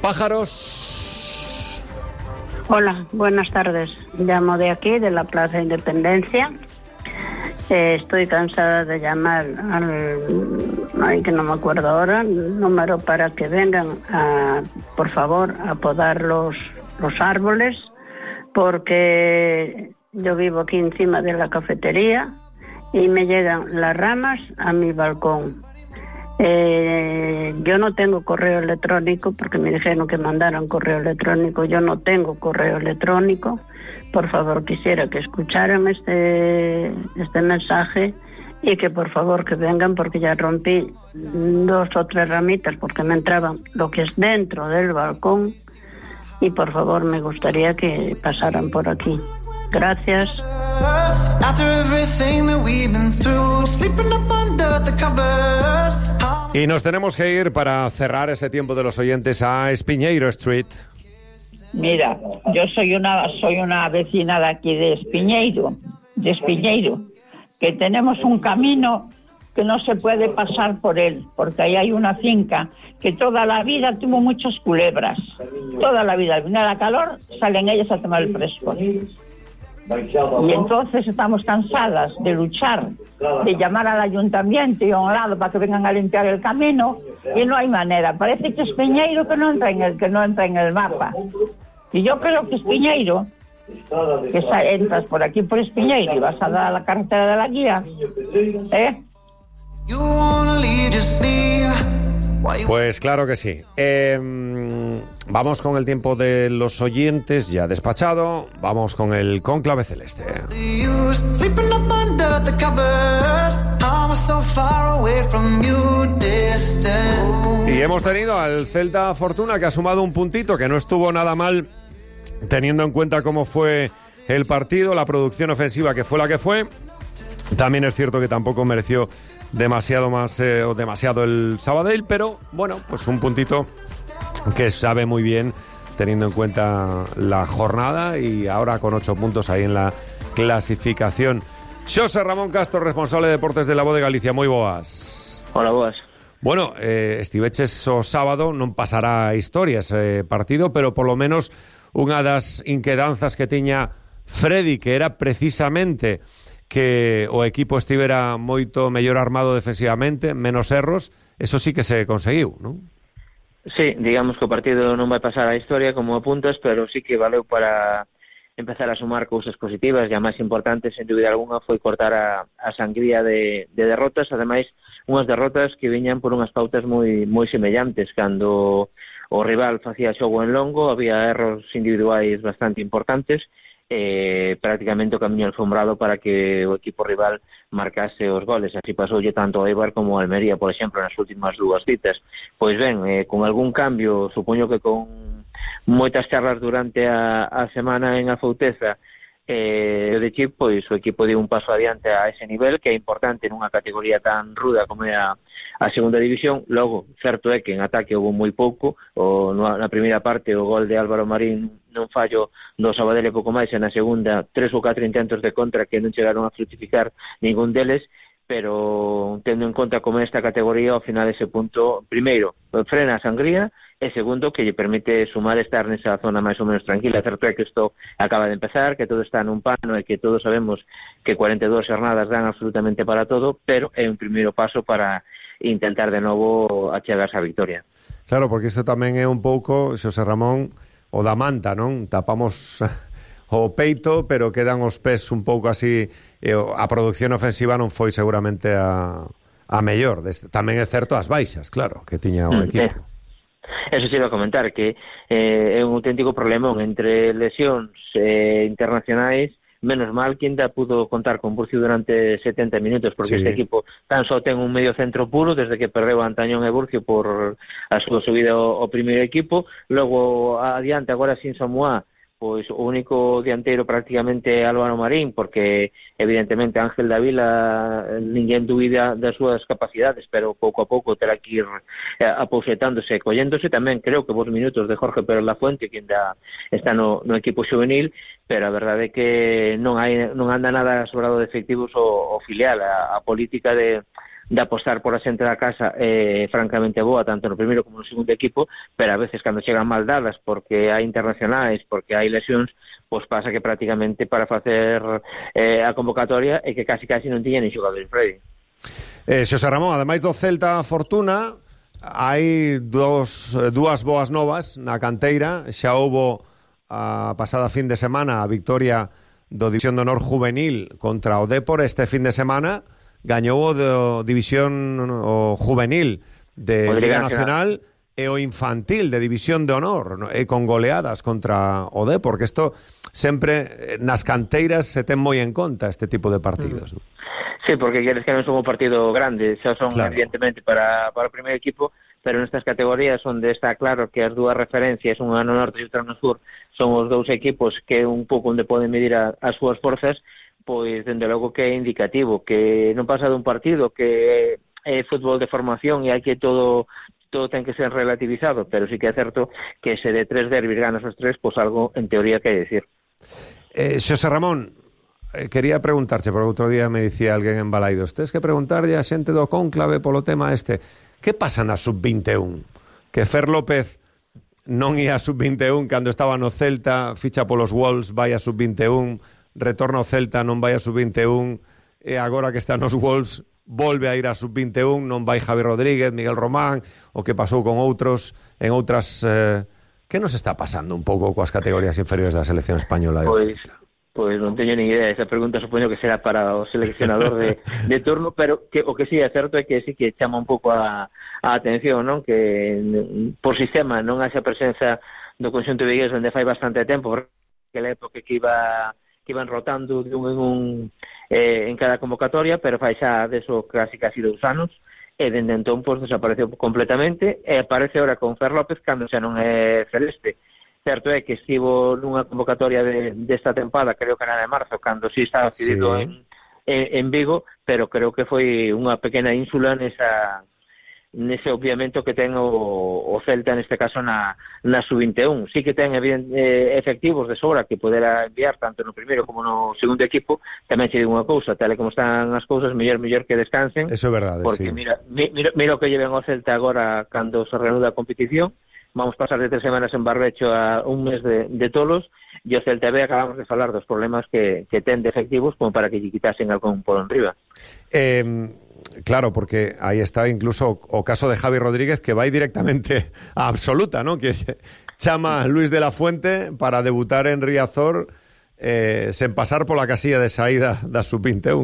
Pájaros. Hola, buenas tardes. Llamo de aquí, de la Plaza Independencia. Estoy cansada de llamar ay, que no me acuerdo ahora, el número para que vengan por favor, a podar los árboles, porque yo vivo aquí encima de la cafetería y me llegan las ramas a mi balcón. Yo no tengo correo electrónico porque me dijeron que mandaran correo electrónico. Yo no tengo correo electrónico. Por favor, quisiera que escucharan este mensaje y que por favor que vengan, porque ya rompí 2 o 3 ramitas porque me entraban lo que es dentro del balcón, y por favor me gustaría que pasaran por aquí. Gracias. Y nos tenemos que ir para cerrar ese tiempo de los oyentes a Espiñeiro Street. Mira, yo soy una vecina de aquí de Espiñeiro, que tenemos un camino que no se puede pasar por él, porque ahí hay una finca que toda la vida tuvo muchas culebras. Toda la vida, al venir la calor, salen ellas a tomar el fresco. Y entonces estamos cansadas de luchar, de llamar al ayuntamiento y a un lado para que vengan a limpiar el camino, y no hay manera. Parece que es Espiñeiro que no entra en el mapa. Y yo creo que Espiñeiro, que entras por aquí por Espiñeiro y vas a dar a la carretera de la guía, Pues claro que sí. Vamos con el tiempo de los oyentes ya despachado. Vamos con el cónclave celeste. Y hemos tenido al Celta Fortuna, que ha sumado un puntito, que no estuvo nada mal teniendo en cuenta cómo fue el partido, la producción ofensiva que fue la que fue. También es cierto que tampoco mereció demasiado más o demasiado el Sabadell, pero bueno, pues un puntito que sabe muy bien teniendo en cuenta la jornada, y ahora con 8 puntos ahí en la clasificación. Xosé Ramón Castro, responsable de deportes de La Voz de Galicia, moi boas. Hola, boas. Bueno, estiveches o sábado, non pasará a historia ese partido, pero polo menos unha das inquedanzas que tiña Freddy, que era precisamente que o equipo estivera moito mellor armado defensivamente, menos erros, eso sí que se conseguiu, non? Sí, digamos que o partido non vai pasar a historia como apuntas, pero sí que valeu para empezar a sumar cousas positivas, e a máis importante, sen dúbida alguna, foi cortar a sangría de derrotas, ademais unhas derrotas que viñan por unhas pautas moi semellantes. Cando o rival facía xogo en longo, había erros individuais bastante importantes, prácticamente o camiño alfombrado para que o equipo rival marcase os goles. Así pasoulle tanto a Eibar como a Almería, por exemplo, nas últimas 2 citas. Pois ben, con algún cambio, supoño que con moitas charlas durante a semana en Afouteza, de Chip, pois o equipo deu un paso adiante a ese nivel, que é importante nunha categoría tan ruda como é a segunda división. Logo, certo é que en ataque houve moi pouco, na primeira parte o gol de Álvaro Marín non fallo do Sabadell e pouco máis, e na segunda 3 ou 4 intentos de contra que non chegaron a fructificar ningún deles, pero tendo en conta como esta categoría, ao final ese punto, primeiro, frena a sangría, e segundo, que lle permite sumar estar nesa zona máis ou menos tranquila. Certo é que isto acaba de empezar, que todo está nun pano e que todos sabemos que 42 jornadas dan absolutamente para todo, pero é un primeiro paso para intentar de novo achegarse a victoria. Claro, porque isto tamén é un pouco, Xosé Ramón, o da manta, non? Tapamos o peito, pero quedan os pés un pouco así, a produción ofensiva non foi seguramente a mellor. Tamén é certo as baixas, claro, que tiña o equipo. Eso se iba a comentar, que é un auténtico problemón entre lesións internacionais. Menos mal que ainda pudo contar con Burcio durante 70 minutos, porque sí, este equipo tan só ten un medio centro puro desde que perdeu Antañón e Burcio por a súa subida ao primeiro equipo. Logo adiante, agora sin Samuá, pois o único dianteiro prácticamente é Álvaro Marín, porque evidentemente Ángel Davila ninguén dúbida das súas capacidades, pero pouco a pouco terá que ir aposetándose e colléndose. Tamén creo que vos minutos de Jorge Pérez Lafuente, que ainda está no equipo juvenil, pero a verdade é que non anda nada sobrado de efectivos o filial. A política de de apostar por a xente da casa francamente boa, tanto no primeiro como no segundo equipo, pero a veces cando chegan mal dadas porque hai internacionais, porque hai lesións, pois pasa que prácticamente para facer a convocatoria é que casi non tiña ni xogador en Freddy. Xosé Ramón, ademais do Celta Fortuna, hai dúas boas novas na canteira. Xa houbo a pasada fin de semana a victoria do División de Honor Juvenil contra o Dépor. Este fin de semana gañou o do División o Juvenil de Liga Nacional e o Infantil de División de Honor, ¿no? E con goleadas contra o Dépor, que isto sempre nas canteiras se ten moi en conta este tipo de partidos. Sí, porque queres que non son un partido grande, xa son claro, evidentemente para o primeiro equipo, pero nestas categorías onde está claro que as dúas referencias, unha no norte e outra no sur, son os dous equipos que un pouco onde poden medir as súas forzas, pois dende logo que é indicativo, que non pasa dun partido, que é fútbol de formación e hai que todo ten que ser relativizado, pero sí que é certo que se de 3 derbis ganas os 3, pois algo en teoría que hai decir. Xosé Ramón, quería preguntarche, porque outro día me dicía alguén en Balaidos, tes que preguntarlle a xente do cónclave polo tema este, que pasa na sub-21? Que Fer López non ia a sub-21 cando estaba no Celta, ficha polos Wolves, vai a sub-21, retorna ao Celta, non vai a sub-21, e agora que está nos Wolves volve a ir a sub-21, non vai Javi Rodríguez, Miguel Román, o que pasou con outros en outras... que nos está pasando un pouco coas categorías inferiores da selección española? Pois non teño ni idea, esa pregunta supoño que será para o seleccionador de turno, pero que o que sí é certo é que sí que chama un pouco a atención, non? Que por sistema non haxa presenza do conxunto vigués onde fai bastante tempo, porque a época que iban rotando de un en cada convocatoria, pero fai xa deso casi 2 anos, e dende entón pois desapareceu completamente, e aparece ahora con Fer López cando xa non é celeste. Certo é que estivo nunha convocatoria desta tempada, creo que era de marzo, cando sí estaba cedido en Vigo, pero creo que foi unha pequena ínsula nese obviamento que ten o Celta neste caso na sub-21. Sí que ten efectivos de sobra que podera enviar tanto no primeiro como no segundo equipo. Tamén che digo unha cousa, tal e como están as cousas, mellor que descansen. Eso é verdade, porque sí. Mira o que lleven ao Celta agora cando se reanuda a competición. Vamos pasar de 3 semanas en Barbecho a un mes de tolos, e o Celta B acabamos de falar dos problemas que ten de efectivos como para que lle quitasen algún polo en riba. Claro, porque aí está incluso o caso de Javi Rodríguez, que vai directamente a absoluta, ¿no? Que chama a Luis de la Fuente para debutar en Riazor sen pasar pola casilla de saída da sub-21.